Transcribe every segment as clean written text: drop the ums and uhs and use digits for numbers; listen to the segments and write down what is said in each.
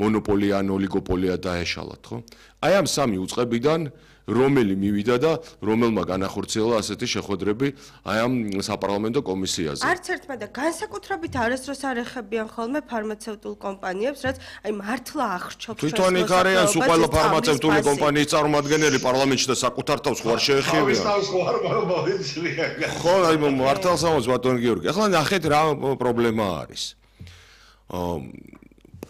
მონოპოლია ან ოლიგოპოლია დაეშალათ, ხო? აი ამ სამი უწყებიდან რომელი მივიდა და რომელმა განახორციელა ასეთი შეხვედრები აი ამ საპარლამენტო კომისიაზე. არც ერთმა და განსაკუთრებით არასდროს არ ეხებიან ხოლმე ფარმაცევტულ კომპანიებს, რაც აი მართლა აღრჩობს თვითონ იქ არიან სულ ყველა ფარმაცევტული კომპანიის წარმომადგენელი პარლამენტში და საკუთარ თავს ხوار შეეხებიან. ხო, აი მართალსამოს ბატონ გიორგი. ახლა ნახეთ რა პრობლემა არის.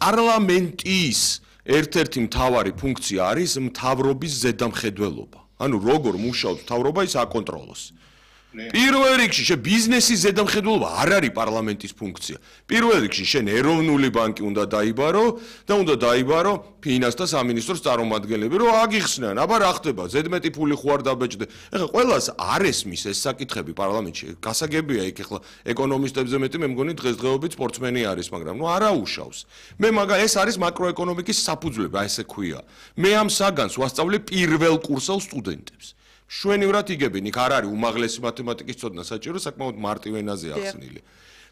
პარლამენტის ერთ-ერთი მთავარი ფუნქცია არის მთავრობის ზედამხედველობა. ანუ როგორ მუშაობს მთავრობა ის აკონტროლოს. პირველ რიგში ბიზნესის ზედამხედველობა არ არის პარლამენტის ფუნქცია. პირველ რიგში შენ ეროვნული ბანკი უნდა დაიბარო და უნდა დაიბარო ფინანსთა სამინისტროს წარმომადგენლები, რომ აგიხსნან, აბა რა ხდება, ზედმეტი ფული ხო არ დაბეჭდე. ეხლა ყველას არ ესმის ეს საკითხები პარლამენტში. გასაგებია იქ ეხლა ეკონომისტებზე მეტი მე მგონი დღესდღეობით სპორტსმენი არის, მაგრამ ნუ არა უშავს. მე ეს არის მაკროეკონომიკის საფუძვლები, აი ესე ქვია. მე ამ საგანს ვასწავლე პირველ კურსელ სტუდენტებს. შვენივრად იგებენ, იქ არ არის უმაღლესი მათემატიკის ცოდნა საჭირო, საკმაოდ მარტივ ენაზე ახსნილი.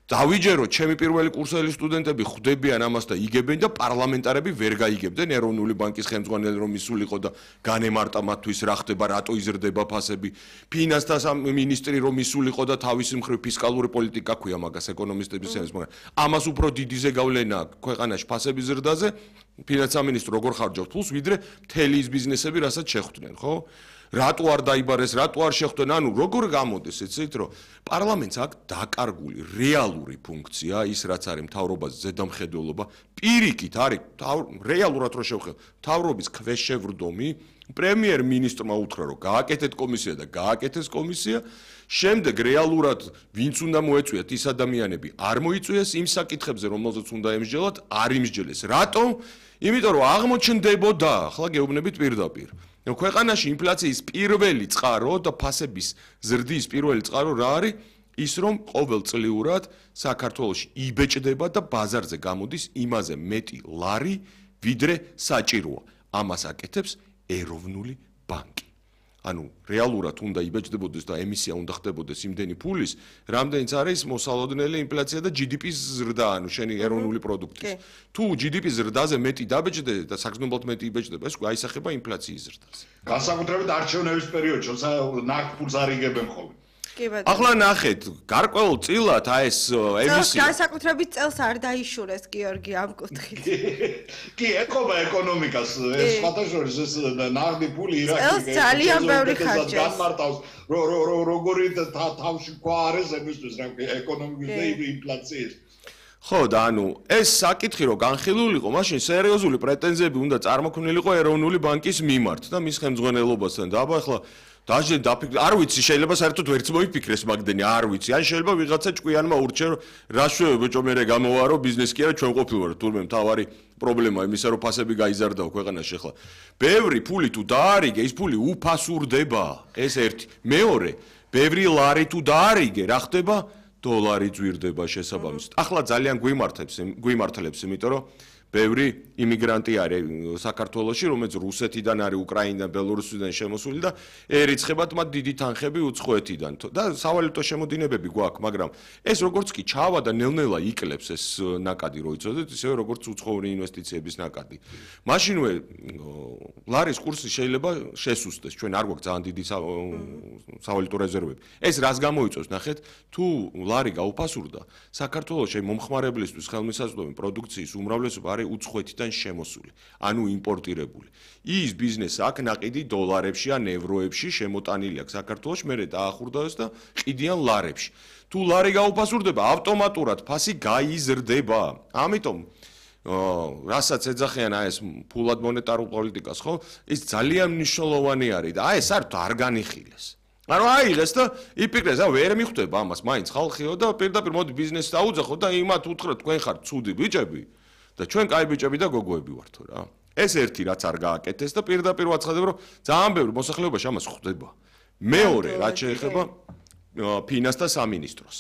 დავიჯერო, ჩემი პირველი კურსელი სტუდენტები ხვდებიან ამას და იგებენ და პარლამენტარები ვერ გაიგებდნენ ეროვნული ბანკის ხელმძღვანელი რომ ისულიყო და განემარტა მათთვის რა ხდება, რატო იზრდება ფასები. ფინანსთა მინისტრი რომ ისულიყო და თავისი მხრივ ფისკალური პოლიტიკა ქვია მაგას ეკონომისტების სენს, მაგრამ ამას უფრო დიდი ზეგავლენა ქვეყანაში ფასების ზრდაზე, ფინანსთა მინისტრი როგორ ხარჯავს ფულს, ვიდრე მთელი ის ბიზნესები, რასაც შეხვდნენ, ხო? რატო არ დაიბარეს, რატო არ შეხვდნენ, ანუ როგორ გამოდის, იცით, რომ პარლამენტს აქვს დაკარგული რეალური ფუნქცია, ის რაც არის მთავრობის ზედამხედველობა, პირიქით არის რეალურად რო შევხედო, მთავრობის ქვეშევრდომი, პრემიერ-მინისტრმა უთხრა, რომ გააკეთეთ კომისია და გააკეთეს კომისია, შემდეგ რეალურად ვინც უნდა მოეწვიათ ის ადამიანები, არ მოიწვიეს იმ საკითხებზე, რომელზეც უნდა ემსჯელოთ, არ იმსჯელეს. რატომ? იმიტომ რომ აღმოჩნდებოდა, ახლა გეუბნებით პირდაპირ. ქვეყანაში ინფლაციის პირველი წყარო და ფასების ზრდის პირველი წყარო რა არის? ის რომ ყოველწლიურად საქართველოში იბეჭდება და ბაზარზე გამოდის იმაზე მეტი ლარი, ვიდრე საჭიროა. ამას აკეთებს ეროვნული ბანკი. ანუ რეალურად უნდა იბეჭდებოდეს და ემისია უნდა ხდებოდეს იმდენი ფულის, რამდენიც არის მოსალოდნელი ინფლაცია და GDP-ს ზრდა, ანუ შენი ეროვნული პროდუქტის. თუ GDP-ს ზრდაზე მეტი დაბეჭდე და საგრძნობლად მეტი იბეჭდება, ეს აისახება ინფლაციის ზრდას. განსაკუთრებით არჩევნების პერიოდში, ნახ ფულს არ იგებენ ხოლმე. ახლა ნახეთ, გარკვეულ წილად აი ეს ემისია განსაკუთრებით წელს არ დაიშურეს გიორგი ამ კუთხით. კი, ეკობა ეკონომიკას, ეს სხვადასხვა ეს ნაღდი ფული ირაკი ძალიან ბევრი ხარჯია. განმარტავს, როგორი თავში ყვა არის ემისთვის რა ეკონომიკის და ინფლაციის. ხო და ანუ ეს საკითხი რომ განხილულიყო, მაშინ სერიოზული პრეტენზიები უნდა წარმოქმნილიყო ეროვნული ბანკის მიმართ და მის ხელმძღვანელობასთან და აბა ახლა დაჟე დაფიქრე, არ ვიცი, შეიძლება საერთოდ ვერც მოიფიქრეს მაგდენი, არ ვიცი. ან შეიძლება ვიღაცა ჭკვიანმა ურჩე, რა შვე ბიჭო მე გამოვარო ბიზნესი კი არა, ჩვენ ყოფილვარ, თურმე მთავარი პრობლემა იმისა, რომ ფასები გაიზარდაო ქვეყანაში ახლა. ბევრი ფული თუ დაარიგე, ის ფული უფასურდება. ეს ერთი. მეორე, ბევრი ლარი თუ დაარიგე, რა ხდება? დოლარი ძვირდება შესაბამისად. ახლა ძალიან გვიმართლებს, იმიტომ რომ ბევრი იმიგრანტი არის საქართველოში, რომელიც რუსეთიდან არის, უკრაინიდან, ბელორუსიდან შემოსული და ერიცხებათ მათ დიდი თანხები უცხოეთიდან. და სავალუტო შემოდინებები გვაქვს, მაგრამ ეს როგორც კი ჩავა და ნელ-ნელა იკლებს ეს ნაკადი, რო იცოდეთ, ისევე როგორც უცხოური ინვესტიციების ნაკადი. მაშინვე ლარის კურსი შეიძლება შესუსტდეს. ჩვენ არ გვაქვს ძალიან დიდი სავალუტო რეზერვები. ეს რას გამოიწვევს, ნახეთ, თუ ლარი გაუფასურდა, საქართველოში მომხმარებლისთვის ხელმისაწვდომი პროდუქციის უმრავლესობა არის უცხოეთიდან შემოსული, ანუ იმპორტირებული. ის ბიზნესი აქ ნაყიდი დოლარებში ან ევროებში შემოტანილი აქვს საქართველოში, მერე დაახურდავეს და ყიდიან ლარებში. თუ ლარი გაუფასურდება, ავტომატურად ფასი გაიზრდება. ამიტომ რასაც ეძახიან აი ეს ფულად მონეტარულ პოლიტიკას, ხო? ის ძალიან მნიშვნელოვანი არის და აი ეს არ განიხილეს. ანუ აიღეს და იფიქრეს, ვერ მიხვდება ამას, მაინც ხალხიო და პირდაპირ მოდი ბიზნესს დაუძახო და იმათ უთხრათ, თქვენ ხართ ცუდი ბიჭები და ჩვენ კაი ბიჭები და გოგოები ვართო რა. ეს ერთი რაც არ გააკეთეს და პირდაპირ ვაცხადებ, რომ ძალიან ბევრი მოსახლეობაში ამას ხვდება. მეორე, რაც შეეხება ფინანსთა სამინისტროს.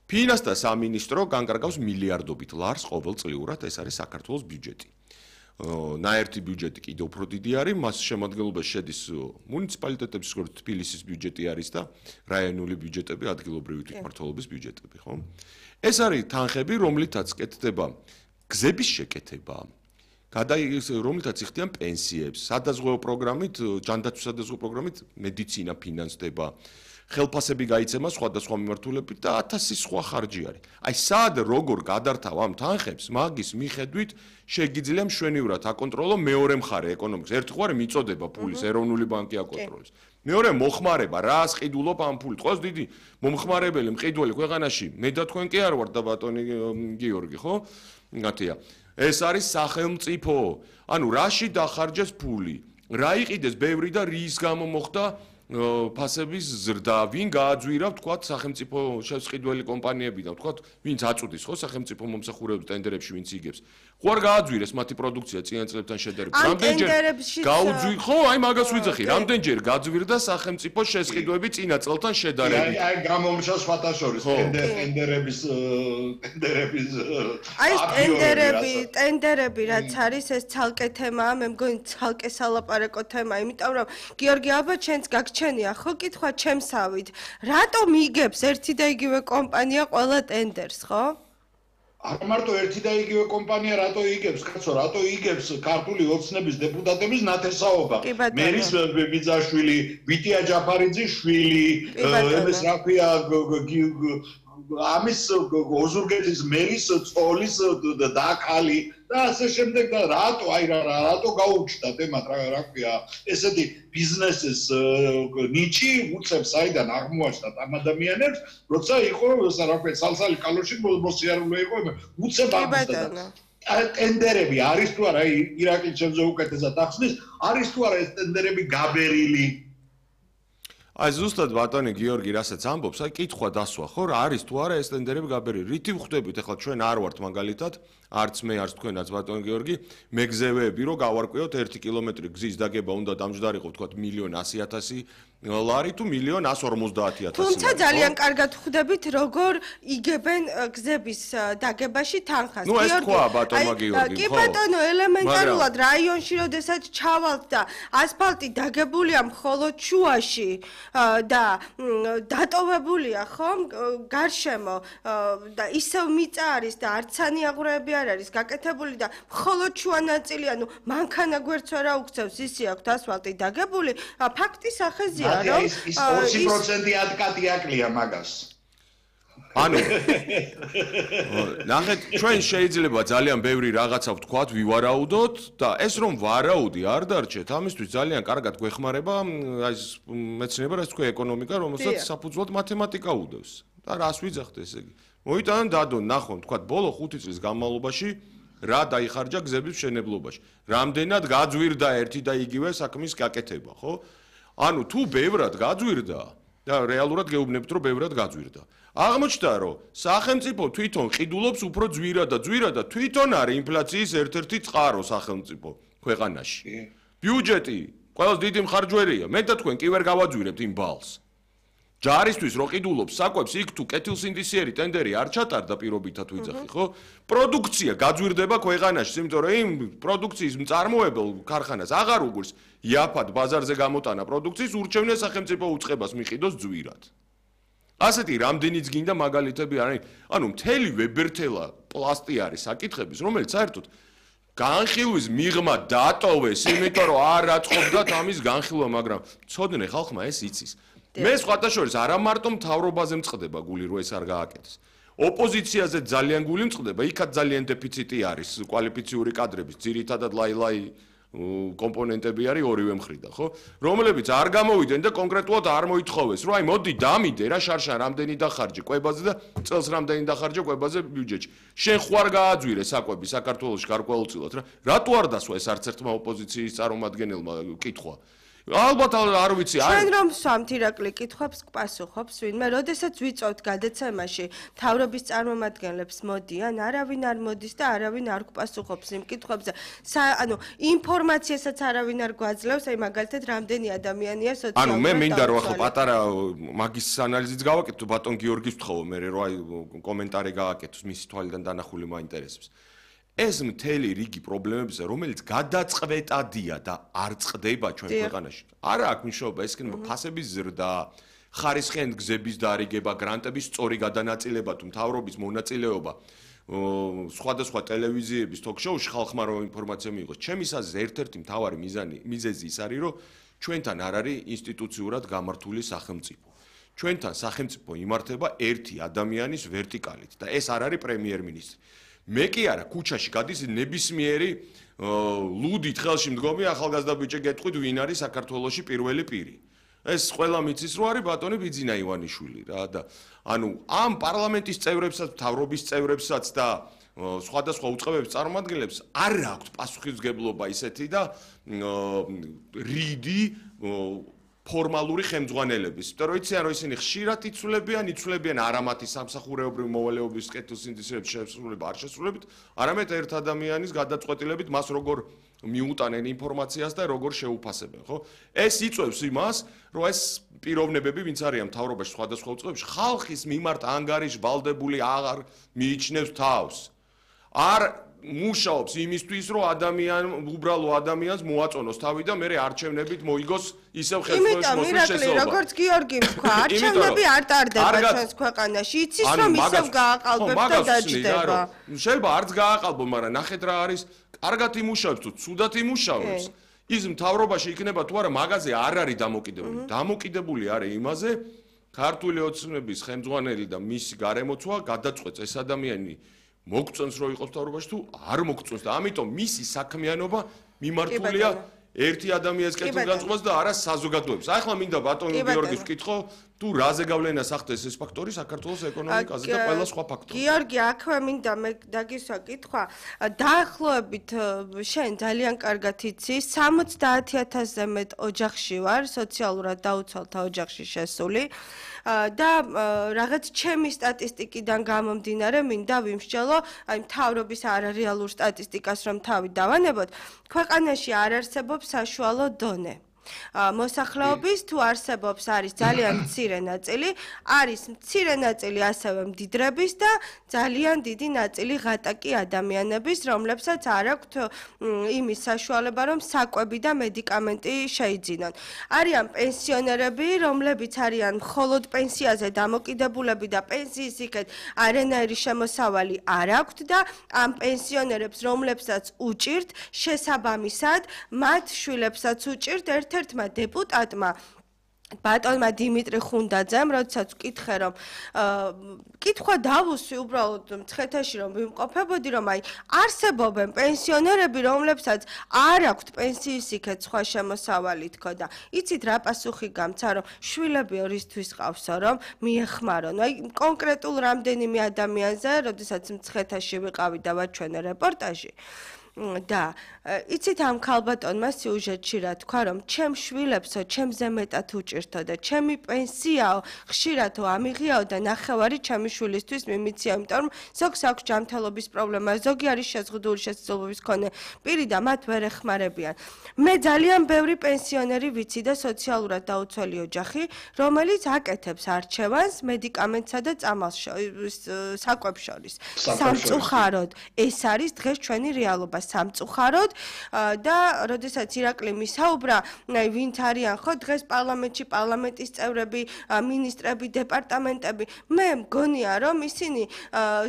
ფინანსთა სამინისტრო განკარგავს მილიარდობით ლარს ყოველწლიურად, ეს არის საქართველოს ბიუჯეტი. ნაერთი ბიუჯეტი კიდევ უფრო დიდი არის, მას შემადგენლობაში შედის მუნიციპალიტეტების, როგორც თბილისის ბიუჯეტი არის და რაიონული ბიუჯეტები, ადგილობრივი თვითმმართველობის ბიუჯეტები, ხო? ეს არის თანხები, რომლითაც კეთდება გზების შეკეთება რომელთაც იხდიან პენსიებს, სადაზღვეო პროგრამით, ჯანდაცვის სადაზღვეო პროგრამით მედიცინა ფინანსდება, ხელფასები გაიცემა სხვადასხვა მიმართულებით და 1000 სხვა ხარჯი არის. აი სად როგორ გადართავ ამ თანხებს, მაგის მიხედვით შეგიძლია მშვენივრად აკონტროლო მეორე მხარე ეკონომიკის. ერთი მხარე მიწოდება ფულის, ეროვნული ბანკი აკონტროლებს. მეორე მოხმარება, რას ყიდულობ ამ ფულით. ყავს დიდი მომხმარებელი, მყიდველი ქვეყანაში, მე და თქვენ კი არ ვართ და ბატონი გიორგი, ხო? მათია. ეს არის სახელმწიფო. ანუ რაში დახარჯეს ფული? რა იყიდეს ბევრი და რის გამო მოხდა ფასების ზრდა, ვინ გააძვირა, ვთქვათ, სახელმწიფო შესყიდველი კომპანიები და ვთქვათ, ვინც აწუდის ხო სახელმწიფო მომსახურეებს ტენდერებში, ვინც იგებს. ხო არ გააძვირეს მათი პროდუქცია წინა წლებთან შედარებით. რამდენჯერ გაუძვირ, ხო, აი მაგას ვიძახი, რამდენჯერ გაძვირდა სახელმწიფო შესყიდვები წინა წელთან შედარებით. აი გამომშა სხვათა შორის ტენდერების აი ტენდერები რაც არის ეს ცალკე თემაა, მე მგონი ცალკე სალაპარაკო თემა, იმიტომ რომ გიორგი ალბათ შენც გაგჩენია ხო კითხვა ჩემსავით, რატომ იგებს ერთი და იგივე კომპანია ყველა ტენდერს, ხო? არ მარტო ერთი და იგივე კომპანია რატო იგებს, კაცო, რატო იგებს ქართული ოცნების დეპუტატების ნათესაობა. მერის ბიძაშვილი, ვიტია ჯაფარიძის შვილი, ეს რა ქვია ამის ოზურგეთის მერის წოლის დაკალი და ასე შემდეგ და რატო გაუჩნდა თემად რა ქვია ესეთი ბიზნესის ნიჩი უწევს საიდან აღმოაჩნდათ ამ ადამიანებს როცა იყო რა ქვია სალსალი კალოში მოსიარულე იყო უწევ აღმოჩნდა ტენდერები არის თუ არა ირაკლი ჩემზე უკეთესად ახსნის არის თუ არა ეს ტენდერები გაბერილი აი ზუსტად ბატონი გიორგი რასაც ამბობს, აი კითხვა დასვა, ხო, რა არის თუ არა ეს ტენდერები გაბერილი. რითი ვხვდებით, ახლა ჩვენ არ ვართ მაგალითად, არც მე, არც თქვენაც ბატონი გიორგი, მეგზევეები, რომ გავარკვიოთ 1 კილომეტრი გზის დაგება უნდა დამჯდარიყო, ვთქვათ, 1,100,000 ლარი თუ 1,150,000. თუმცა ძალიან კარგად ვხვდებით, როგორ იგებენ გზების დაგებაში თანხას. ნუ ეს თქვა ბატონმა გიორგიმ, ხო? კი ბატონო, ელემენტარულად რაიონში, როდესაც ჩავალთ და ასფალტი დაგებულია მხოლოდ შუაში და დატოვებულია, ხო? გარშემო და ისევ მიწა არის და არცანი აღვრეები არ არის გაკეთებული და მხოლოდ შუა ნაწილი, ანუ მანქანა გვერდს არა უქცევს, ისი აქვთ ასფალტი დაგებული, ფაქტის ახეზია. ის 20% ატკატი აკლია მაგას. ანუ ნახეთ, ჩვენ შეიძლება ძალიან ბევრი რაღაცა ვთქვათ, ვივარაუდოთ და ეს რომ ვარაუდი არ დარჩეთ, ამისთვის ძალიან კარგად გვეხმარება აი ეს მეცნიერება, რაც თქვა ეკონომიკა, რომელსაც საფუძვლად მათემატიკა უდევს. და რას ვიძახთ ესე იგი? მოიტანონ დადონ, ნახონ, ვთქვათ, ბოლო 5 წლის განმავლობაში რა დაიხარჯა გზების მშენებლობაში. რამდენად გაძვირდა ერთი და იგივე საქმის გაკეთება, ხო? ანუ თუ ბევრად გაძვირდა და რეალურად გეუბნებით რომ ბევრად გაძვირდა. აღმოჩნდა რომ სახელმწიფო თვითონ ყიდულობს უფრო ძვირად და თვითონ არის ინფლაციის ერთ-ერთი წყარო სახელმწიფო ქვეყანაში. ბიუჯეტი ყველას დიდი მხარჯვერია. მე და თქვენ კი ვერ გავაძვირებთ იმ ბალს. ჯარისთვის რო ყიდულობს საკვებს იქ თუ კეთილსინდისიერი ტენდერი არ ჩატარდა პირობითად ვიძახი, ხო? პროდუქცია გაძვირდება ქვეყანაში, იმიტომ რომ იმ პროდუქციის მწარმოებელ ქარხანას აღარ უგულს იაფად ბაზარზე გამოტანა პროდუქციის ურჩევნია სახელმწიფო უწყებას მიყიდოს ძვირად. ასეთი რამდენიც გინდა მაგალითები არის, ანუ მთელი ვებერთელა პლასტი არის საკითხების, რომელიც საერთოდ განხილვის მიღმა დატოვეს, იმიტომ რომ არ აწყობდათ ამის განხილვა, მაგრამ ცოდნე ხალხმა ეს იცის. მე სხვათა შორის არა მარტო მთავრობაზე მწყდება გული რომ ეს არ გააკეთეს. ოპოზიციაზე ძალიან გული მწყდება, იქაც ძალიან დეფიციტი არის კვალიფიციური კადრების, ძირითადად ლაილაი კომპონენტები არის ორივე მხრიდან, ხო? რომლებიც არ გამოვიდნენ და კონკრეტულად არ მოითხოვეს, რომ აი მოდი დამიდე რა შარშან რამდენი დახარჯე კვებაზე და წელს რამდენი დახარჯე კვებაზე ბიუჯეტში. შენ ხوار გააძვირე საკვები საქართველოში გარკვეულწილად რა. რატო არ დასვა ეს არც ერთმა ოპოზიციის წარმომადგენელმა კითხვა? ალბათ არ ვიცი აი ჩვენ რომ სვამთ ირაკლი კითხვებს პასუხობს ვინმე როდესაც ვიწევთ გადაცემაში თავრობის წარმომადგენლებს მოდიან არავინ არ მოდის და არავინ არ გპასუხობს იმ კითხვებზე ანუ ინფორმაციასაც არავინ არ გვაძლევს აი მაგალითად რამდენი ადამიანია სოციალურად ანუ მე მინდა რომ ახლა პატარა მაგის ანალიზიც გავაკეთო ბატონ გიორგის ვთხოვო მე რომ აი კომენტარი გააკეთოს მისი თვალიდან დანახული მაინტერესებს ეს მთელი რიგი პრობლემებია, რომელიც გადაწყვეტადია და არ წყდება ჩვენ ქვეყანაში. არა აქვს მნიშვნელობა, ეს იქნება ფასების ზრდა, ხარისხიან გზების დარიგება, გრანტების სწორი გადანაწილება თუ მთავრობის მონაწილეობა სხვადასხვა ტელევიზიების ток-შოუში ხალხმა რომ ინფორმაცია მიიღოს. ჩემის აზრით ერთ-ერთი მთავარი მიზეზი ის არის, რომ ჩვენთან არ არის ინსტიტუციურად გამართული სახელმწიფო. ჩვენთან სახელმწიფო იმართება ერთი ადამიანის ვერტიკალით და ეს არ არის პრემიერ-მინისტრი. მე კი არა, ქუჩაში გადის ნებისმიერი ლუდით ხელში მდგომი ახალგაზრდა ბიჭი გეტყვით ვინ არის საქართველოში პირველი პირი. ეს ყველა მიცის რო არის ბატონი ბიძინა ივანიშვილი რა და ანუ ამ პარლამენტის წევრებსაც, მთავრობის წევრებსაც და სხვადასხვა უწყებების წარმომადგენლებს არ აქვთ პასუხისმგებლობა ისეთი და რიდი ფორმალური ხელმძღვანელების. იმიტომ რომ იციან რომ ისინი ხშირად იცვლებიან არა მათი სამსახურეობრივი მოვალეობის კეთილსინდისრების შესრულება არ შესრულებით, არამედ ერთ ადამიანის გადაწყვეტილებით მას როგორ მიუტანენ ინფორმაციას და როგორ შეუფასებენ, ხო? ეს იწვევს იმას, რომ ეს პიროვნებები, ვინც არიან მთავრობაში სხვადასხვა უწყებებში, ხალხის მიმართ ანგარიშვალდებული აღარ მიიჩნევს თავს. არ მუშაობს იმისთვის, რომ უბრალო ადამიანს მოაწონოს თავი და მეორე არჩევნებით მოიგოს ისევ ხელმძღვანელობის მოსვლის შესაძლებლობა. როგორც გიორგი თქვა, არჩევნები არ ტარდება ჩვენს ქვეყანაში. იცის რომ ისევ გააყალბებს და დაჯდება. შეიძლება არც გააყალბო, მაგრამ ნახეთ რა არის, კარგად იმუშავებს თუ ცუდად იმუშავებს. ის მთავრობაში იქნება თუ არა, მაგაზე არ არის დამოკიდებული. დამოკიდებული არის იმაზე, ქართული ოცნების ხელმძღვანელი და მისი გარემოცვა გადაწყვეტს ეს ადამიანი მოგწონს რომ იყოს მთავრობაში თუ არ მოგწონს და ამიტომ მისი საქმიანობა მიმართულია ერთი ადამიანის კეთილგანწყობას და არა საზოგადოებას. ახლა მინდა ბატონ გიორგის ვკითხო, თუ რაზე გავლენას ახდენს ეს ფაქტორი საქართველოს ეკონომიკაზე და ყველა სხვა ფაქტორი. გიორგი, აქვე მინდა მე დაგისვა კითხვა. დაახლოებით შენ ძალიან კარგად იცი, 70,000-ზე მეტ ოჯახში ვარ, სოციალურად დაუცველთა ოჯახში შესული. და რაღაც ჩემი სტატისტიკიდან გამომდინარე მინდა ვიმსჯელო, აი მთავრობის არარეალურ სტატისტიკას რომ თავი დავანებოთ, ქვეყანაში არ არსებობს საშუალო დონე. მოსახლეობის თუ არსებობს არის ძალიან მცირე ნაწილი, არის მცირე ნაწილი ასევე მდიდრების და ძალიან დიდი ნაწილი ღატაკი ადამიანების, რომლებსაც არ აქვთ იმის საშუალება, რომ საკვები და მედიკამენტი შეიძინონ. არიან პენსიონერები, რომლებიც არიან მხოლოდ პენსიაზე დამოკიდებულები და პენსიის იქეთ არანაირი შემოსავალი არ აქვთ და ამ პენსიონერებს, რომლებსაც უჭირთ, შესაბამისად, მათ შვილებსაც უჭირთ ერთ-ერთმა დეპუტატმა ბატონმა დიმიტრი ხუნდაძემ, როდესაც ვკითხე რომ კითხვა დავუსვი უბრალოდ მცხეთაში რომ ვიმყოფებოდი რომ აი არსებობენ პენსიონერები რომლებსაც არ აქვთ პენსიის იქეთ სხვა შემოსავალი თქო და იცით რა პასუხი გამცა რომ შვილები ორისთვის ყავსო რომ მიეხმარონ აი კონკრეტულ რამდენიმე ადამიანზე როდესაც მცხეთაში ვიყავი და ვაჩვენე რეპორტაჟი და იცით ამ ქალბატონმა სიუჟეტში რა თქვა რომ ჩემ შვილებსო ჩემზე მეტად უჭირთო და ჩემი პენსიაო ხშირადო ამიღიაო და ნახევარი ჩემი შვილისთვის მიმიცია იმიტომ რომ ზოგს აქვს ჯანმრთელობის პრობლემა ზოგი არის შეზღუდული შესაძლებლობის მქონე პირი და მათ ვერ ეხმარებიან მე ძალიან ბევრი პენსიონერი ვიცი და სოციალურად დაუცველი ოჯახი რომელიც აკეთებს არჩევანს მედიკამენტსა და წამალს საკვებს შორის სამწუხაროდ ეს არის დღეს ჩვენი რეალობა სამწუხაროდ და როდესაც ირაკლი მისაუბრა ვინც არიან ხო დღეს პარლამენტში პარლამენტის წევრები მინისტრები დეპარტამენტები მე მგონია რომ ისინი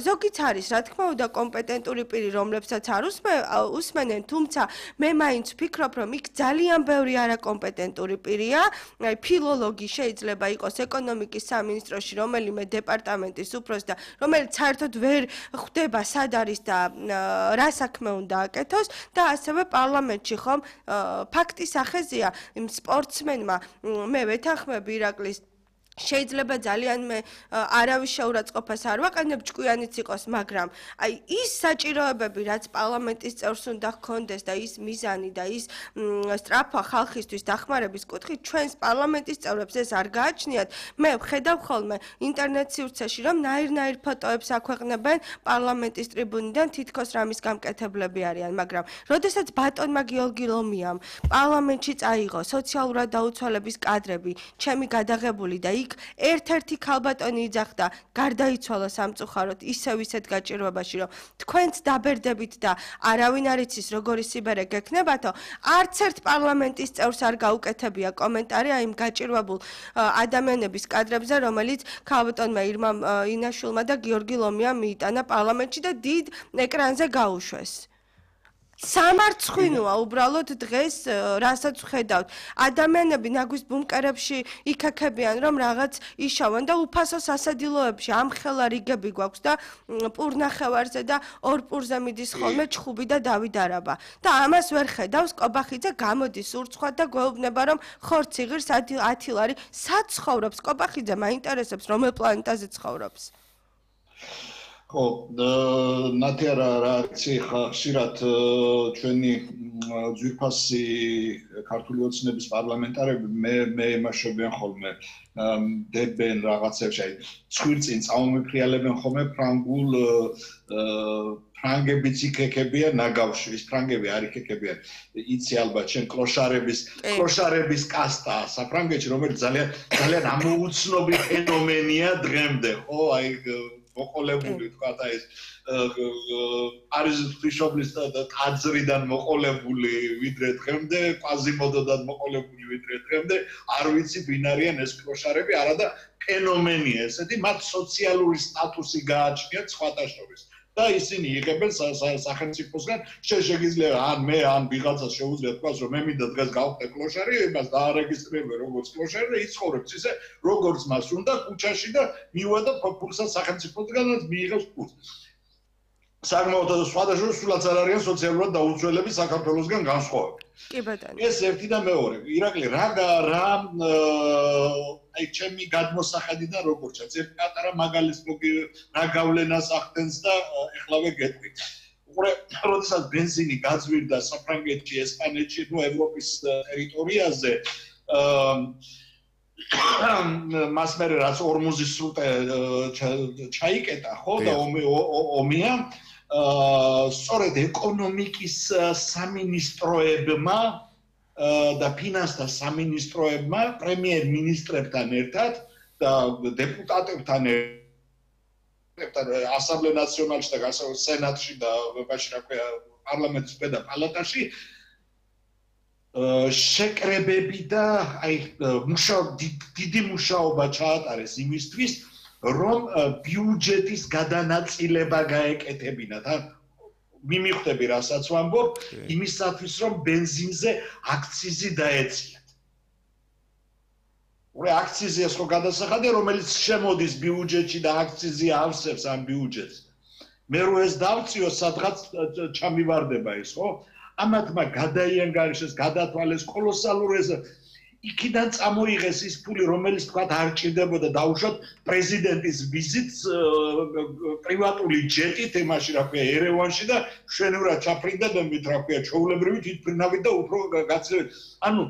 ზოგიც არის რა თქმა უნდა კომპეტენტური პირი რომლებსაც არ უსმენენ თუმცა მე მაინც ვფიქრობ რომ იქ ძალიან ბევრი არაკომპეტენტური პირია აი ფილოლოგი შეიძლება იყოს ეკონომიკის სამინისტროში რომელიმე დეპარტამენტის უფროსი და რომელიც საერთოდ ვერ ხვდება სად არის და რა საქმე უნდა აკეთოს და ასევე პარლამენტში ხომ ფაქტის ახეზია იმ სპორტსმენმა მე ვეთანხმები ირაკლის შეიძლება ძალიან მე არავის შეურაცხყოფას არ ვაყენებ ჭკვიანიც იყოს მაგრამ აი ის საჭიროებები რაც პარლამენტის წევრს უნდა ჰქონდეს და ის მიზანი და ის სწრაფვა ხალხისთვის დახმარების კუთხით ჩვენს პარლამენტის წევრებს ეს არ გააჩნიათ მე ვხედავ ხოლმე ინტერნეტ სივრცეში რომ ნაირ ფოტოებს აქვეყნებენ პარლამენტის ტრიბუნიდან თითქოს რამის გამკეთებლები არიან მაგრამ როდესაც ბატონმა გიორგი ლომიამ პარლამენტში წაიღო სოციალურად დაუცველების კადრები ჩემი გადაღებული და იქ იქ ერთ-ერთი ქალბატონი იძახდა გარდაიცვალა სამწუხაროდ ისევ ისეთ გაჭირვებაში რომ თქვენც დაბერდებით და არავინ არ იცის როგორი სიბერე გექნებათო არც ერთ პარლამენტის წევრს არ გაუკეთებია კომენტარი აი იმ გაჭირვებულ ადამიანების კადრებზე რომელიც ქალბატონმა ირმა ინაშვილმა და გიორგი ლომიამ მიიტანა პარლამენტში და დიდ ეკრანზე გაუშვეს სამარცხვინოა უბრალოდ დღეს რასაც ვხედავთ ადამიანები ნაგვის ბუნკერებში იქაქებიან რომ რაღაც იშავენ და უფასო სასადილოებში ამხელა რიგები გვაქვს და პურნახევარზე და ორ პურზე მიდის ხოლმე ჩხუბი და დავით არაბა და ამას ვერ ხედავს კობახიძე გამოდის ურცხვად და გვეუბნება რომ ხორცი იღირს 10 ლარი სად ცხოვრობს კობახიძე მაინტერესებს რომელ პლანეტაზე ცხოვრობს ხო, ნათია რა ხშირად ჩვენი ძვირფასი ქართული ოცნების პარლამენტარები მე ემაშობიან ხოლმე დებენ რაღაცებში, აი ცხვირწინ წამომიფრიალებენ ხოლმე ფრანგულ ფრანგებიც იქეკებიან ნაგავში, ის ფრანგები არ იქეკებიან. იცი ალბათ შენ კლოშარების კასტა საფრანგეთში, რომელიც ძალიან ამოუცნობი ფენომენია დღემდე, ხო, აი მოყოლებული თქვა და ეს პარიზის ღვთისმშობლის ტაძრიდან მოყოლებული ვიდრე დღემდე, კვაზიმოდოდან მოყოლებული ვიდრე დღემდე, არ ვიცი ვინ არიან ეს კლოშარები, არადა ფენომენია ესეთი, მათ სოციალური სტატუსი გააჩნიათ სხვათა შორის. და ისინი იღებენ სახელმწიფოსგან შეგიძლია ან ვიღაცა შეუძლია თქვას რომ მე მინდა დღეს გავხდე კლოშარი, იმას დაარეგისტრირებ როგორც კლოშარი და იცხოვრებს ისე როგორც მას უნდა ქუჩაში და მივადა ფულსაც სახელმწიფოსგანაც მიიღებს ფულს. საკმაოდ სხვადასხვა სულაც არ არიან სოციალურად დაუცველები საქართველოსგან განსხვავებით. კი ბატონო. ეს ერთი და მეორე. ირაკლი რა აი ჩემი გადმოსახედიდან როგორც ჩანს, ერთ პატარა მაგალითს რა გავლენას ახდენს და ეხლავე გეტყვით. უყურე, როდესაც ბენზინი გაძვირდა საფრანგეთში, ესპანეთში, ნუ ევროპის ტერიტორიაზე, მას მერე რაც ორმუზის სრუტე ჩაიკეტა, ხო და ომია სწორედ ეკონომიკის სამინისტროებმა და ფინანსთა სამინისტროებმა პრემიერ-მინისტრებთან ერთად და დეპუტატებთან ერთად ასამბლე ნაციონალში და სენატში და მაშინ რა ქვია პარლამენტის ქვედა პალატაში შეკრებები და აი დიდი მუშაობა ჩაატარეს იმისთვის რომ ბიუჯეტის გადანაწილება გაეკეთებინათ მიმიხვდები რასაც ვამბობ იმისათვის რომ ბენზინზე აქციზი დაეციათ. უყურე აქციზი ეს ხო გადასახადია რომელიც შემოდის ბიუჯეტში და აქციზი ავსებს ამ ბიუჯეტს. მე რო ეს დავწიო სადღაც ჩამივარდება ის ხო? ამათმა გადაიანგარიშეს, გადათვალეს კოლოსალურ ეს იქიდან წამოიღეს ის ფული რომელიც თქვა არ ჭირდებოდა დაუშვათ პრეზიდენტის ვიზიტს პრივატული ჯეტით იმაში რა ქვია ერევანში და შვენივრად ჩაფრინდებებით რა ქვია ჩვეულებრივი თვითმფრინავით და უფრო გაცილებით ანუ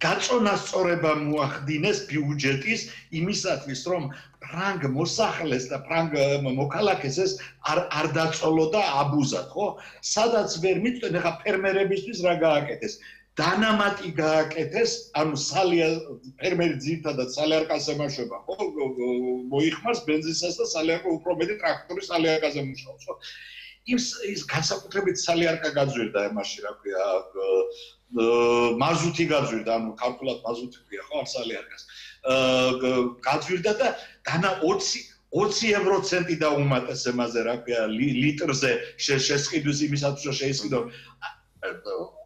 გაწონასწორება მოახდინეს ბიუჯეტის იმისათვის რომ ფრანგ მოსახლეს და ფრანგ მოქალაქეს ეს არ დაწოლოდა აბუზად ხო სადაც ვერ მიწვენ ახლა ფერმერებისთვის რა გააკეთეს დანამატი გააკეთეს, ანუ ფერმერი ძირითადად სალიარკას ემაშვება, ხო? მოიხმარს ბენზინსაც და სალიარკა უფრო მეტი ტრაქტორის სალიარკაზე მუშაობს, ხო? ის განსაკუთრებით სალიარკა გაძვირდა ემაში, რა ქვია, მაზუთი გაძვირდა, ანუ ქართულად მაზუთი ქვია, ხო, ამ სალიარკას. გაძვირდა და დანა 20 ევროცენტი დაუმატეს ემაზე, რა ქვია, ლიტრზე შესყიდვის იმისათვის რომ შეისყიდო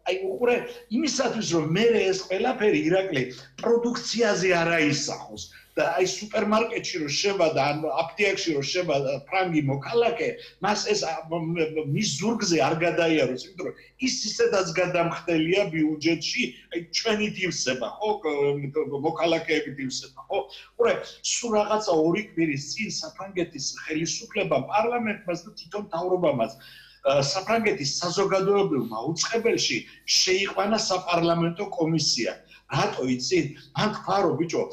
აი უყურე იმისათვის რომ მე ეს ყველაფერი ირაკლი პროდუქციაზე არ აისახოს და აი სუპერმარკეტში რომ შევადა ან აპტიაკში რომ შევადა ფრანგი მოქალაქე მას ეს მის ზურგზე არ გადაიაროს იმიტომ რომ ის ისედაც გადამხდელია ბიუჯეტში აი ჩვენით ივსება ხო მოქალაქეებით ივსება ხო უყურე სულ რაღაცა 2 კვირის წინ საფრანგეთის ხელისუფლებამ პარლამენტმაც და თვითონ მთავრობამაც საფრანგეთის საზოგადოებრივმა უწყებელში შეიყვანა საპარლამენტო კომისია. რატო იცით? მან თქვა რომ ბიჭო,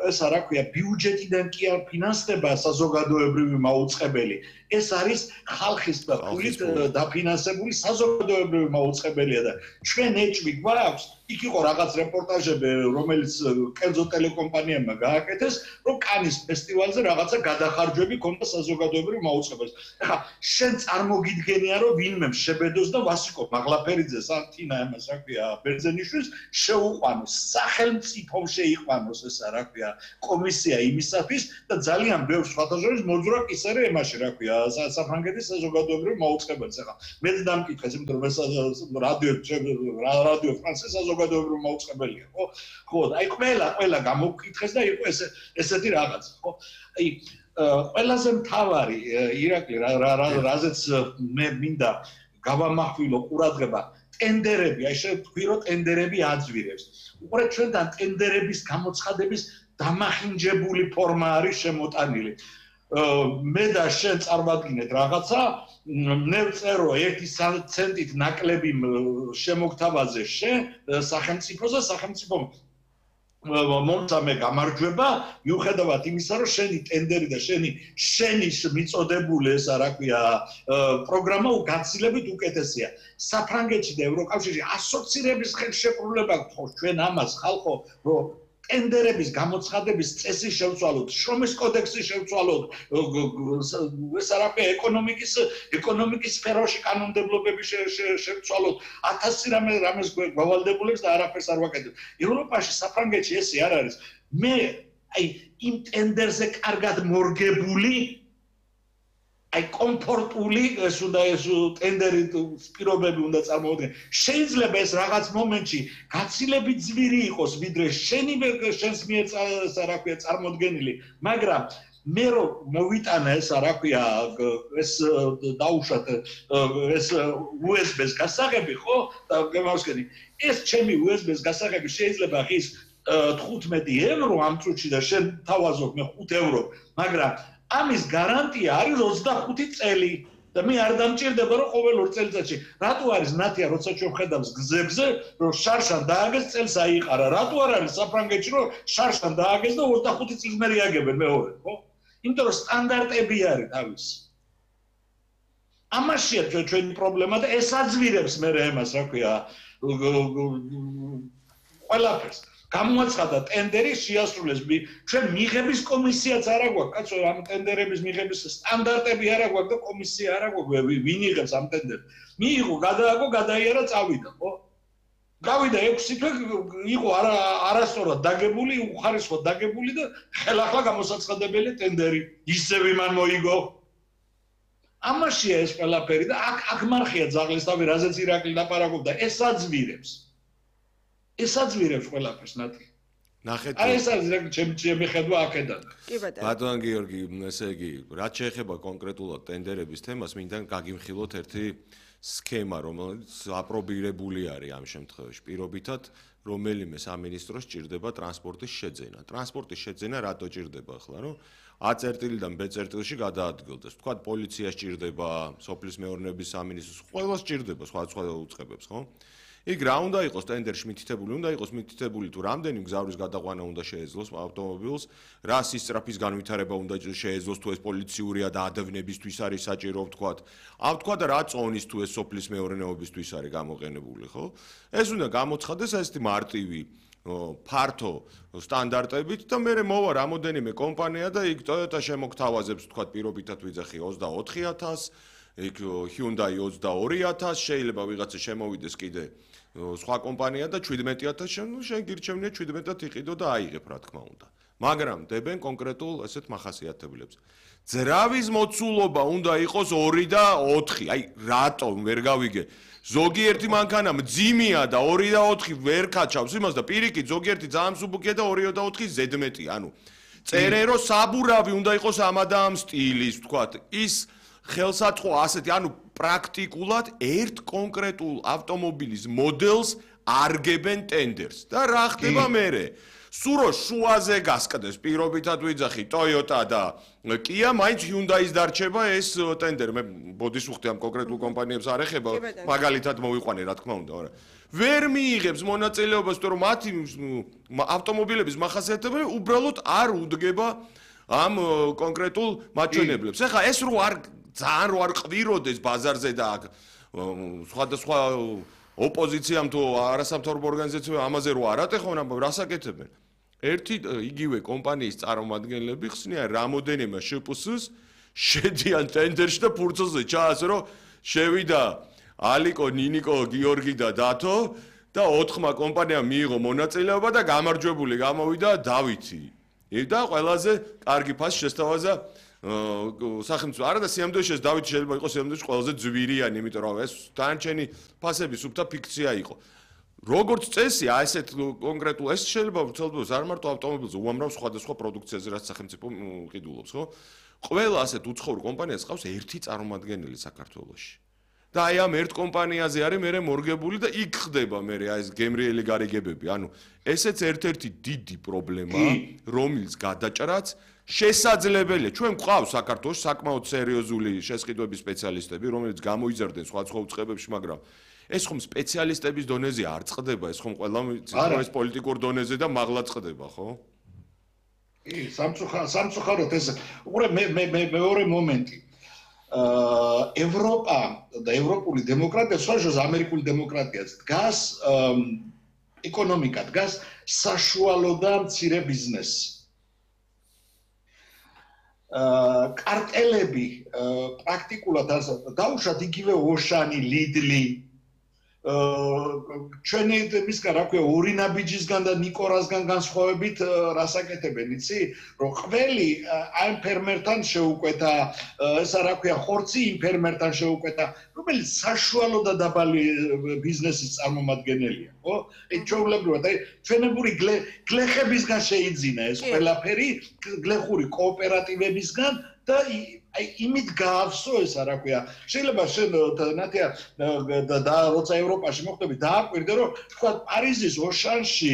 ესა რა ქვია, ბიუჯეტიდან კი არ ფინანსდება საზოგადოებრივი მაუწყებელი. ეს არის ხალხის ფულით დაფინანსებული საზოგადოებრივი მაუწყებელია და ჩვენ ეჭვი გვაქვს იქ იყო რაღაც რეპორტაჟები რომელიც კერძო ტელეკომპანიებმა გააკეთეს რომ კანის ფესტივალზე რაღაცა გადახარჯვები ქონდა საზოგადოებრივ მაუწყებელს ახლა შენ წარმოგიდგენია რომ ვინმე შებედოს და ვასიკო მაღლაფერიძეს ან თინა ამას რა ქვია ბერძენიშვილს შეუყვანოს სახელმწიფომ შეიყვანოს ესა რა ქვია კომისია იმისათვის და ძალიან ბევრ სხვადასხვა მოძრაობ ის არის ემაში რა ქვია საფრანგეთის საზოგადოებრივ მაუწყებელს ახლა მეც დამკითხეს იმიტომ რომ ეს რადიო ფრანსეს საზოგადოებრივ მაუწყებელია ხო აი ყველა გამოგკითხეს და იყო ესეთი რაღაც ხო აი ყველაზე მთავარი ირაკლი რაზეც მე მინდა გავამახვილო ყურადღება ტენდერები აი შევთქვი რომ ტენდერები აძვირებს უყურე ჩვენთან ტენდერების გამოცხადების დამახინჯებული ფორმა არის შემოტანილი მე და შენ წარმოგიდგენთ რაღაცა მე ვწერო 1 ცენტით ნაკლები შემოგთავაზე შენ სახელმწიფოზე სახელმწიფო მომწამე გამარჯვება მიუხედავად იმისა რომ შენი ტენდერი და შენი მიწოდებული ესა რა ქვია პროგრამა გაცილებით უკეთესია საფრანგეთში და ევროკავშირში ასოცირების ხელშეკრულება გთხოვს ჩვენ ამას ხალხო რომ ტენდერების გამოცხადების წესი შევცვალოთ, შრომის კოდექსი შევცვალოთ, ეს რა ქვია ეკონომიკის სფეროში კანონმდებლობები შევცვალოთ, 1000 რამეს გვავალდებულებს და არაფერს არ ვაკეთებ. ევროპაში, საფრანგეთში ესე არ არის. მე აი იმ ტენდერზე კარგად მორგებული აი კომფორტული ეს უნდა ეს ტენდერი პირობები უნდა წარმოვიდგენ. შეიძლება ეს რაღაც მომენტში გაცილებით ძვირი იყოს, ვიდრე შენს მიერ რა ქვია წარმოდგენილი, მაგრამ მე რომ მოვიტანა ეს რა ქვია ეს დაუშვათ ეს USB-ს გასაღები ხო და გემავსკენი ეს ჩემი USB-ს გასაღები შეიძლება ღირს 15 ევრო ამ წუთში და შენ თავაზობ მე 5 ევრო, მაგრამ ამის გარანტია არის 25 წელი და მე არ დამჭირდება რომ ყოველ 2 წელიწადში რატო არის ნათია როცა ჩვენ ხედავს გზებზე რომ შარშან დააგეს წელს აიყარა რატო არ არის საფრანგეთში რომ შარშან დააგეს და 25 წლის მერე აგებენ მეორე ხო იმიტომ რომ სტანდარტები არის თავის ამაშია ჩვენი პრობლემა და ეს აძვირებს მე ამას რა ქვია ყველაფერს გამოაცხადა ტენდერი შეასრულეს ჩვენ მიღების კომისიაც არა გვაქვს კაცო ამ ტენდერების მიღების სტანდარტები არა გვაქვს და კომისია არა გვაქვს ვინ იღებს ამ ტენდერს მიიღო გადააგო გადაიარა წავიდა ხო გავიდა 6 თვე იყო არასწორად დაგებული უხარისხოდ დაგებული და ხელახლა გამოსაცხადებელი ტენდერი ისევ იმან მოიგო ამაშია ეს ყველაფერი და აქ მარხია ძაღლისთავი რაზეც ირაკლი ლაპარაკობდა ეს აძვირებს ყველაფერს ნათი. ნახეთ. აი ეს არის ჩემი ხედვა აქედან. კი ბატონო. ბატონ გიორგი, ესე იგი, რაც შეეხება კონკრეტულად ტენდერების თემას, მინდა გაგიმხილოთ ერთი სქემა, რომელიც აპრობირებული არის ამ შემთხვევაში. პირობითად, რომელიმე სამინისტროს ჭირდება ტრანსპორტის შეძენა. ტრანსპორტის შეძენა რატო ჭირდება ახლა, რომ A წერტილიდან B წერტილში გადაადგილდეს. თქვა პოლიციას ჭირდება, სოფლის მეურნეობის სამინისტროს, ყველას ჭირდება სხვა უწყებებს, ხო? იქ რა უნდა იყოს ტენდერში მითითებული, უნდა იყოს მითითებული თუ რამდენი მგზავრის გადაყვანა უნდა შეეძლოს ავტომობილს, რა სისწრაფის განვითარება უნდა შეეძლოს თუ ეს პოლიციურია და ადევნებისთვის არის საჭირო ვთქვათ. ვთქვა და რა წონის თუ ეს სოფლის მეურნეობისთვის არის გამოყენებული, ხო? ეს უნდა გამოცხადდეს ესეთი მარტივი ფართო სტანდარტებით და მე მოვა რამოდენიმე კომპანია და იქ Toyota შემოგთავაზებს ვთქვათ პირობითად ვიძახი 24000 იქ Hyundai 22000 შეიძლება ვიღაცა შემოვიდეს კიდე სხვა კომპანია და 17000 შენ გირჩევნია 17-ად იყიდო და აიღებ რა თქმა უნდა მაგრამ დებენ კონკრეტულ ესეთ მახასიათებლებს ძრავის მოცულობა უნდა იყოს 2 და 4 აი რატომ ვერ გავიგე ზოგიერთი მანქანა მძიმეა და 2 და 4 ვერ კაჩავს იმას და პირიქით ზოგიერთი ძალიან მსუბუქია და 2 და 4 ზედმეტი ანუ წერე რომ საბურავი უნდა იყოს ამადამ სტილის ვთქვათ ის ხელსაწყო ასეთი ანუ პრაქტიკულად ერთ კონკრეტულ ავტომობილის მოდელს არგებენ ტენდერს და რა ხდება მერე სურო შუაზე გასკდეს პირობითად ვიძახი Toyota და Kia მაინც Hyundai-ს დარჩება ეს ტენდერი მე ბოდის უხდი ამ კონკრეტულ კომპანიებს არ ეხება მაგალითად მოვიყვანე რა თქმა უნდა არა ვერ მიიღებს მონაწილეობას თუ რომ მათი ავტომობილების მახასიათებლები უბრალოდ არ უდგება ამ კონკრეტულ მაჩვენებლებს ეხლა ეს რო არ ძალიან რო არ ყვიროდეს ბაზარზე და სხვადასხვა ოპოზიციამ თუ არასამთავრობო ორგანიზაციებმა ამაზე რო არ ატეხონ, რას აკეთებენ? ერთი იგივე კომპანიის წარმომადგენლები ხსნიან რამოდენიმე შპს-ს შედიან ტენდერში და ფურცელზე ჩაასე რომ შევიდა ალიკო, ნინიკო, გიორგი და დათო და 4-მა კომპანიამ მიიღო მონაწილეობა და გამარჯვებული გამოვიდა დავითი. და ყველაზე კარგი ფასი შესთავაზა სახელმწიფო. არა და სიამოვნებაში ეს დავითი შეიძლება იყოს სიამოვნებაში ყველაზე ძვირიანი, იმიტომ რომ ეს დანარჩენი ფასები სუფთა ფიქცია იყო. როგორც წესი, ესეთ კონკრეტულ ეს შეიძლება ვცელდეს არ მარტო ავტომობილზე, უამრავ სხვადასხვა პროდუქციაზე რაც სახელმწიფო ყიდულობს, ხო? ყველა ასეთ უცხოურ კომპანიას ყავს ერთი წარმომადგენელი საქართველოში. და აი ამ ერთ კომპანიაზე არის მე მორგებული და იქ ხდება მე აი ეს გემრიელი გარიგებები. ანუ ესეც ერთ-ერთი დიდი პრობლემა, რომელიც გადაჭრაც შესაძლებელია. ჩვენ გვყავს საქართველოს საკმაოდ სერიოზული შესყიდვების სპეციალისტები, რომელიც გამოიზარდნენ სხვადასხვა უწყებებში, მაგრამ ეს ხომ სპეციალისტების დონეზე არ წყდება, ეს ხომ ყველა ეს პოლიტიკურ დონეზე და მაღლა წყდება, ხო? კი, სამწუხაროდ ეს მეორე მომენტი. ევროპა და ევროპული დემოკრატია, სხვაშორის ამერიკული დემოკრატიაც დგას ეკონომიკა დგას საშუალო და მცირე ბიზნესი. კარტელები პრაქტიკულად დაუშვათ იგივე ოშანი, ლიდლი ჩვენი მისგან რა ქვია ორი ნაბიჯისგან და ნიკორასგან განსხვავებით რას აკეთებენ იცი რომ ყველი ამ ფერმერთან შეუკვეთა ესა რა ქვია ხორცი იმ ფერმერთან შეუკვეთა რომელიც საშუალო და დაბალი ბიზნესის წარმომადგენელია ხო ეს ჩვეულებრივად აი ჩვენებური გლეხებისგან შეიძინა ეს ყველაფერი გლეხური კოოპერატივებისგან და აი იმით გაავსო ესა რა ქვია შეიძლება შენ ნათია და როცა ევროპაში მოხდები დააკვირდე რომ თქვა პარიზის ოშანში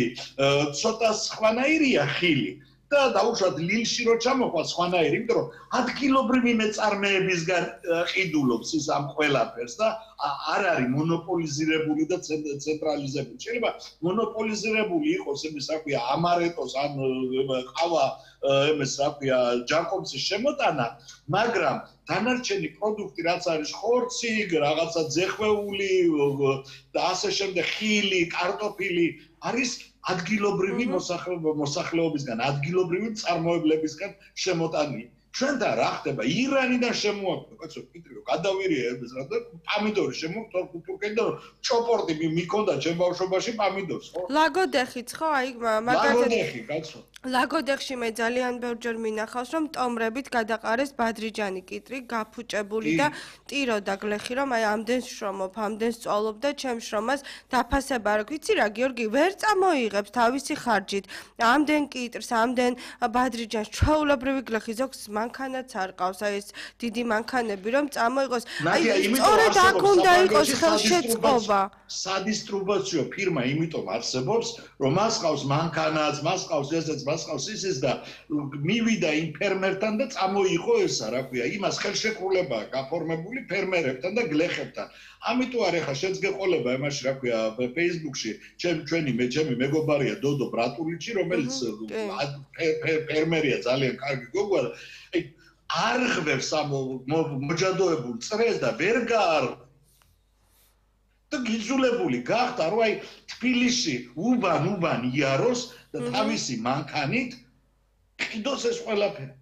ცოტა სხვანაირია ხილი და დაუშვათ ლილში რო ჩამოხვა სხვანაირი იმიტომ რომ ადგილობრივი მეწარმეებისგან ყიდულობს ის ამ ყველაფერს და არ არის მონოპოლიზირებული და ცენტრალიზებული შეიძლება მონოპოლიზირებული იყოს იმის რა ქვია ამარეტოს ან ყავა იმის რა ქვია ჯანკომსის შემოტანა მაგრამ დანარჩენი პროდუქტი რაც არის ხორცი რაღაცა ძეხვეული და ასე შემდეგ ხილი კარტოფილი არის ადგილობრივი მოსახლეობისგან ადგილობრივი წარმოებლებისგან შემოტანილი ჩვენთან რა ხდება ირანიდან შემოაკვდა კაცო პიტრიო გადავირია ეს რა და პამიდორი შემოკვდა თურქეთიდან ჩოპორტი მიქონდა ჩემ ბავშვობაში პამიდორს ხო ლაგოდეხიც ხო აი მაგალითად ლაგოდეხი კაცო ლაგოდეხში მე ძალიან ბევრჯერ მინახავს რომ ტომრებით გადაყარეს ბადრიჯანი კიტრი გაფუჭებული და ტირო და გლეხი რომ აი ამდენს შრომობ ამდენს წვალობ და ჩემ შრომას დაფასება რა ვიცი რა გიორგი ვერ წამოიღებს თავისი ხარჯით ამდენ კიტრს ამდენ ბადრიჯანს ჩვეულებრივი გლეხი ზოგს მანქანაც არ ყავს აი ეს დიდი მანქანები რომ წამოიღოს აი სწორედ აქ უნდა იყოს ხელშეწყობა სადისტრიბუციო ფირმა იმიტომ არსებობს რომ მას ყავს მანქანაც მას ყავს ესეც მას ყავს ისიც და მივიდა იმ ფერმერთან და წამოიღო ესა რა ქვია იმას ხელშეკრულება გაფორმებული ფერმერებთან და გლეხებთან ამიტომ არ ეხა შეც გეყოლება იმაში რა ქვია Facebook-ში ჩემი მეგობარია დოდო ბრატულიჩი რომელიც ფერმერია ძალიან კარგი გოგოა აი არ ხვევს ამ მოჯადოებულ წრეს და ვერ გაარღვევს და გიძულებული გახდა რომ აი თბილისში უბან იაროს და თავისი მანქანით ყიდოს ეს ყველაფერი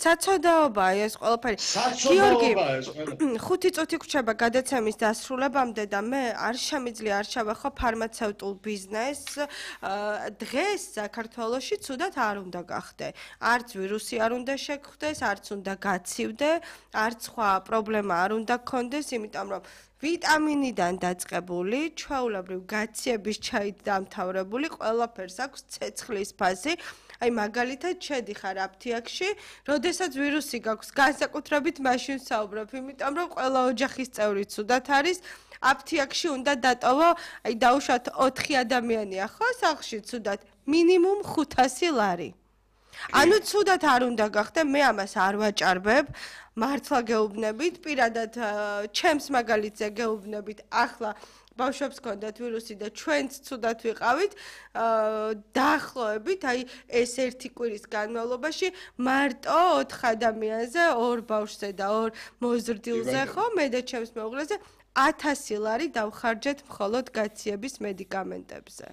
საწოდაობაა ეს ყველაფერი გიორგი 5 წუთი გვჭირდება გადაცემის დასრულებამდე და მე არ შემიძლია არ ჩავახო ფარმაცევტულ ბიზნესს დღეს საქართველოში ცუდად არ უნდა გახდე არც ვირუსი არ უნდა შეგხვდეს არც უნდა გაცივდე არც სხვა პრობლემა არ უნდა გქონდეს იმიტომ რომ ვიტამინიდან დაწყებული, ჩვეულებრივ გაციების ჩაით დამთავრებული, ყველაფერს აქვს ცეცხლის ფასი. აი მაგალითად შედიხარ აფთიაქში, როდესაც ვირუსი გაქვს, განსაკუთრებით მაშინ საუბრობ, იმიტომ რომ ყველა ოჯახის წევრი ცუდად არის. აფთიაქში უნდა დატოვო, აი დაუშვათ 4 ადამიანია ხო, სახლში ცუდად, მინიმუმ 500 ლარი. ანუ ცუდად არ უნდა გახდე, მე ამას არ ვაჭარბებ. მართლა გეუბნებით, პირადად ჩემს მაგალითზე გეუბნებით. ახლა ბავშვებს ჰქონდათ ვირუსი და ჩვენც ცუდად ვიყავით, დაახლოებით, აი ეს ერთი კვირის განმავლობაში მარტო 4 ადამიანზე, 2 ბავშვზე და 2 მოზრდილზე ხო, მე და ჩემს მეუღლეზე 1000 ლარი დავხარჯეთ მხოლოდ გაციების მედიკამენტებზე.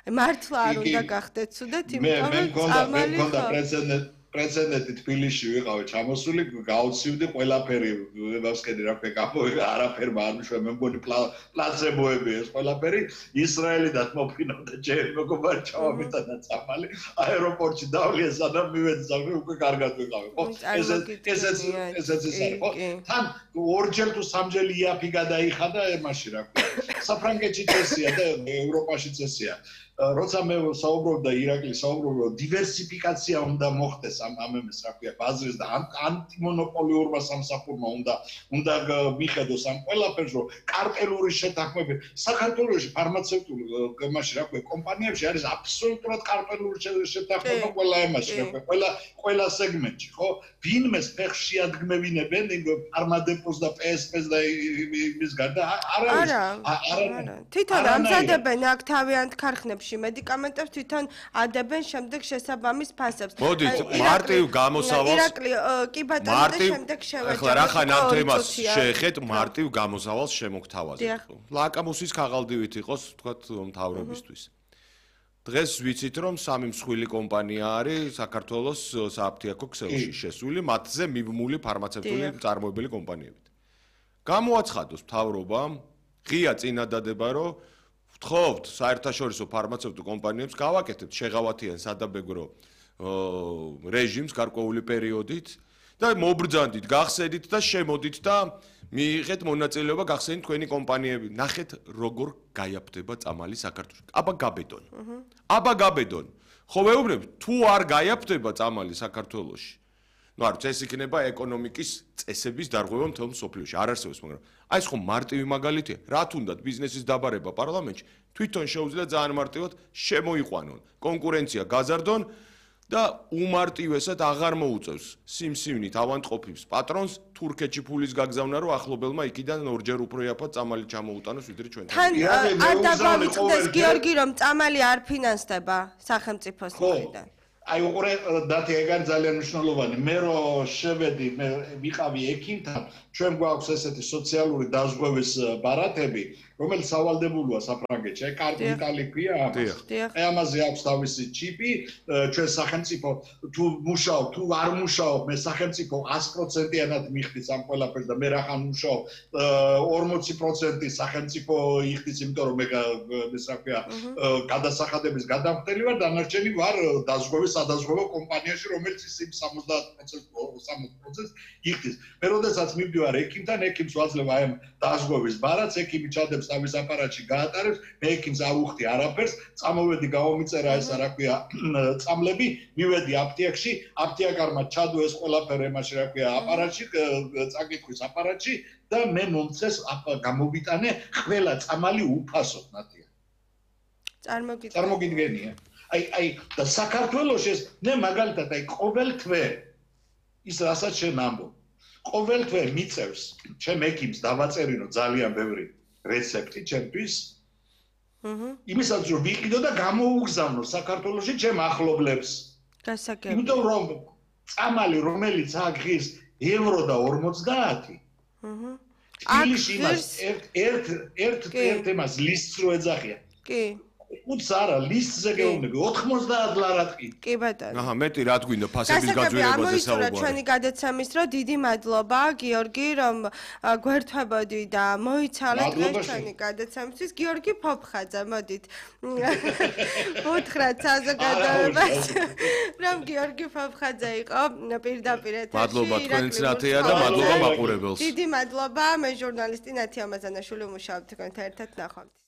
მართლა არ უნდა გახდეთ ცუდად, იმიტომ რომ წამალი ხო. პრეცედენტი თბილისში ვიყავი ჩამოსული, გავცივდი ყველაფერი, ვებავსკედი რა ქვია, გამოვიდა არაფერმა არ მიშვა, მე მგონი პლაცებოები ეს ყველაფერი, ისრაელიდან მოფინავდა ჯერ მეგობარი ჩავამიტანა წამალი, აეროპორტში დავლიე სანამ მივეძახი, უკვე კარგად ვიყავი, ხო? ესეც ის არის, ხო? თან ორჯერ თუ სამჯერ იაფი გადაიხადა ემაში რა ქვია. საფრანგეთში წესია და ევროპაში წესია. როცა მე საუბრობდა ირაკლი საუბრობდა დივერსიფიკაცია უნდა მოხდეს ამ ამას რა ქვია ბაზრის და ანტიმონოპოლიურმა სამსახურმა უნდა მიხედოს ამ ყველაფერს რომ კარტელური შეთანხმები საქართველოში ფარმაცევტული მაშინ რა ქვია კომპანიებში არის აბსოლუტურად კარტელური შეთანხმება ყველა ემაში რა ქვია ყველა სეგმენტში ხო ვინმეს ფეხს შეადგმევინებენ ფარმადეპოს და PSP-ს და იმის გარდა არა თვითონ ამზადებენ აქ თავიანთ ქარხნებში მედიკამენტებს თვითონ ადებენ შემდეგ შესაბამის ფასებს. მოდით, მარტივ გამოსავალს. ირაკლი, კი ბატონო და შემდეგ შევეჯებოთ. ახლა რახან ამ თემას შეეხეთ, მარტივ გამოსავალს შემოგთავაზეთ. ლაკამუსის ქაღალდივით იყოს, თქვათ, მთავრობისთვის. დღეს ვიცით, რომ 3 მსხვილი კომპანია არის საქართველოს სააფთიაქო ქსელში შესული, მათზე მიბმული ფარმაცევტული წარმოებელი კომპანიებით. გამოაცხადოს მთავრობამ ღია წინადადება, რომ ვთხოვთ საერთაშორისო ფარმაცევტულ კომპანიებს გავაკეთებთ შეღავათიან სადაბეგრო რეჟიმს გარკვეული პერიოდით და მობრძანდით, გახსედით და შემოდით და მიიღეთ მონაწილეობა გახსენით თქვენი კომპანიები. ნახეთ როგორ გაიაფთება წამალი საქართველოში. აბა გაბედონ. აბა გაბედონ. ხო ვეუბნებ, თუ არ გაიაფთება წამალი საქართველოში. ნუ არ ეს იქნება ეკონომიკის წესების დარღვევა მთელ მსოფლიოში. არ არსებობს, მაგრამ აი ეს ხომ მარტივი მაგალითია. რა თუნდაც ბიზნესის დაბარება პარლამენტში თვითონ შეუძლია ძალიან მარტივად შემოიყვანონ. კონკურენცია გაზარდონ და უმარტივესად აღარ მოუწევს სიმსივნით ავანტყოფის პატრონს თურქეთში ფულის გაგზავნა, რომ ახლობელმა იქიდან ორჯერ უფრო იაფად წამალი ჩამოუტანოს ვიდრე ჩვენ. თან არ დაგვამიწყდეს გიორგი, რომ წამალი არ ფინანსდება სახელმწიფოს მხრიდან. აი უყურე დათი ეგ არის ძალიან მნიშვნელოვანი. მე რო შევედი, მე ვიყავი ექიმთან, ჩვენ გვაქვს ესეთი სოციალური დაზღვევის ბარათები, რომელიც სავალდებულოა საფრანგეთში. აი კარტიტალი ქვია ამას. აი ამაზე აქვს თავისი ჩიპი, ჩვენ სახელმწიფო თუ მუშაობ, თუ არ მუშაობ, მე სახელმწიფო 100%-იანად მიხდის ამ ყველაფერს და მე რახან მუშაობ 40% სახელმწიფო იხდის, იმიტომ რომ მე ეს რა ქვია გადასახადების გადამხდელი ვარ, დანარჩენი ვარ დაზღვევის სადაზღვევო კომპანიაში, რომელიც ის 60% იხდის. მე როდესაც მივდივარ ექიმთან, ექიმს ვაძლევ აი ამ დაზღვევის ბარათს, ექიმი ჩადებს თავის აპარატში გაატარებს, მე ექიმს არ უხდი არაფერს, წამოვედი გავომიწერა ეს რა ქვია წამლები, მივედი აფთიაქში, აფთიაკარმა ჩადო ეს ყველაფერი მაშინ რა ქვია აპარატში, წაკითხვის აპარატში და მე მომწეს გამოვიტანე ყველა წამალი უფასოდ ნათია. წარმოგიდგენია. აი და საქართველოში ეს მე მაგალითად აი ყოველ თვე ის რასაც შენ ამბობ ყოველ თვე მიწევს ჩემ ექიმს დავაწერინო ძალიან ბევრი რეცეპტი ჩემთვის იმისაც რომ ვიყიდო და გამოუგზავნო საქართველოში ჩემ ახლობლებს გასაგებია იმიტომ რომ წამალი რომელიც აღის евро და 50 თბილისში იმას ერთ ემას ლისტს რო ეძახიან კი უც არა ლისტზე გეუბნები 90 ლარად კი ბატონო აჰა მეტი რა თქვინდა ფასების გაძვირებაზე საუბარი ჩვენი გადაცემის დრო დიდი მადლობა გიორგი რომ გვერთვებოდი და მოიცალეთ დღეს ჩვენი გადაცემისთვის გიორგი ფოფხაძე მოდით უთხრათ საზოგადოებას რომ გიორგი ფოფხაძე იყო პირდაპირ ეთერში მადლობა თქვენს ნათია და მადლობა მაყურებელს დიდი მადლობა მე ჟურნალისტი ნათია მაზანაშვილი ვმუშაობთ თქვენთან ერთად ნახვამდის